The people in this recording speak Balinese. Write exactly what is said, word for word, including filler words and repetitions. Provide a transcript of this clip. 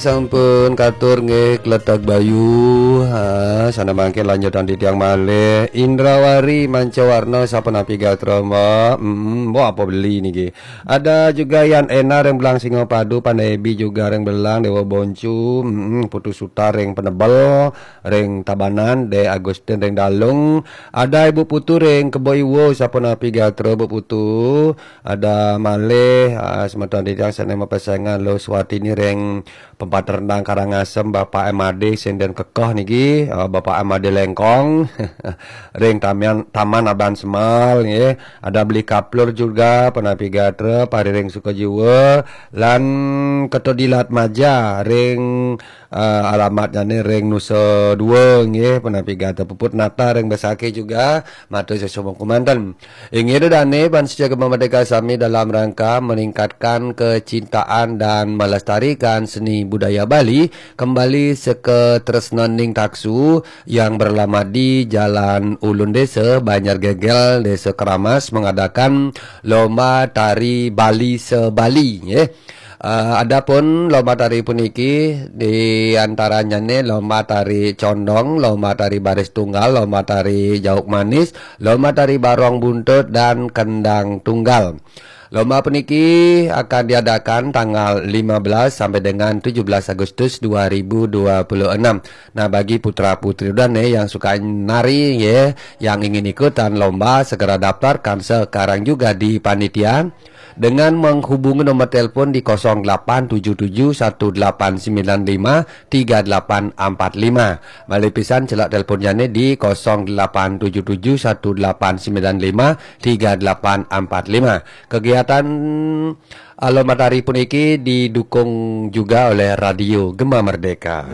Sampun katur nggih kletek bayu. Ha, sana mangkin lanjutan titiang malih. Indrawari Mancawarna sapunapi gatra, Mbok? Mm, Mbok apa beli niki? Ada juga Yan Ena ring Belang Singapadu, Pandai Ebi juga ring Belang, Dewa Boncu, mm, Putu Sutar ring Penebel, ring Tabanan, De Agustin ring Dalung. Ada Ibu Putu ring Kebo Iwo sapunapi gatra, Bu Putu. Ada malih, ah, semeton titiang sane mapesengan Lo Suwatini ring Pempaternang Karangasem, Bapak M A D sing den kekoh niki, ah, Bapak M A D Lengkong, ring Taman, Taman Aban Semal, nggih. Ada Beli Kaplur juga, punapi gatra, pariring suka jiwa, lan Ketodilat Maja, ring, ah, alamatnyane ring Nusa Dua, nggih, punapi gatra. Puput Nata ring Besakih juga, matur sesama kumanten. Inggih ida dane, Bangsa Jagat Merdeka sami dalam rangka meningkatkan kecintaan dan melestarikan seni budaya Bali, kembali seka tresnaning taksu yang beralamat di Jalan Ulun Desa, Banjar Gegel, Desa Keramas, mengadakan lomba tari Bali se-Bali, nggih. Eh, adapun lomba tari puniki di antaranyane lomba tari condong, lomba tari baris tunggal, lomba tari jauk manis, lomba tari barong buntut, dan kendang tunggal. Lomba puniki akan diadakan tanggal lima belas sampai dengan tujuh belas Agustus dua ribu dua puluh enam. Nah, bagi putra-putri dane yang suka nari, ya, yang ingin ikutan lomba, segera daftarkan sekarang juga di panitia dengan menghubungi nomor telepon di kosong delapan tujuh tujuh satu delapan sembilan lima tiga delapan empat lima. Malih pisan, celak teleponnyane di kosong delapan tujuh tujuh satu delapan sembilan lima tiga delapan empat lima. Kegiatan, ah, lomba tari puniki didukung juga oleh Radio Gema Merdeka.